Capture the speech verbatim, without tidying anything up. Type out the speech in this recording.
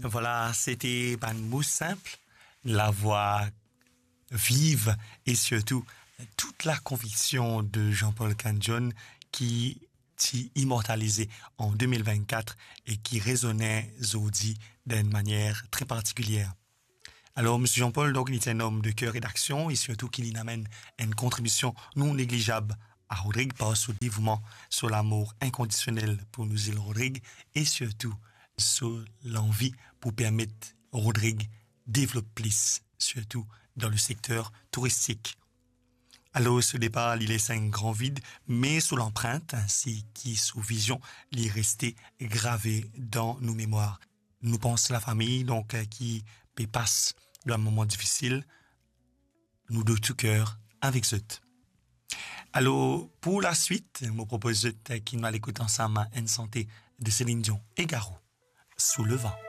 Vwala, sete bann mo sinp, lavwa viv e sirtou tout lakonviksion de Jean-Paul Candion ki ti imortalize an de mil vennkat e ki rezone zordi dan enn manier tre partikilier. Alor, Misie Jean-Paul, donk, li ti enn om de ker e daksion, e sirtou ki linn amenn enn kontribision non neglizab a Rodrig par so devouman, so lamour inkondisionel pou nou zil Rodrig, e sirtou so lanvi pou permet Rodrig devlop plis, sirtou dan le sekter touristik. Alor, so depar, li les enn gran vid, me so lanprint, ainsi ki so vizion, li reste grave dan nou memwar. Nou pans lafami, donk, ki pe pas dan enn moman difisil, nou de tou ker avek zot. Alor, pou laswit, mo propoz zot ki nou al ekout ansam enn sante de Céline Dion e Garo, Sous le vent.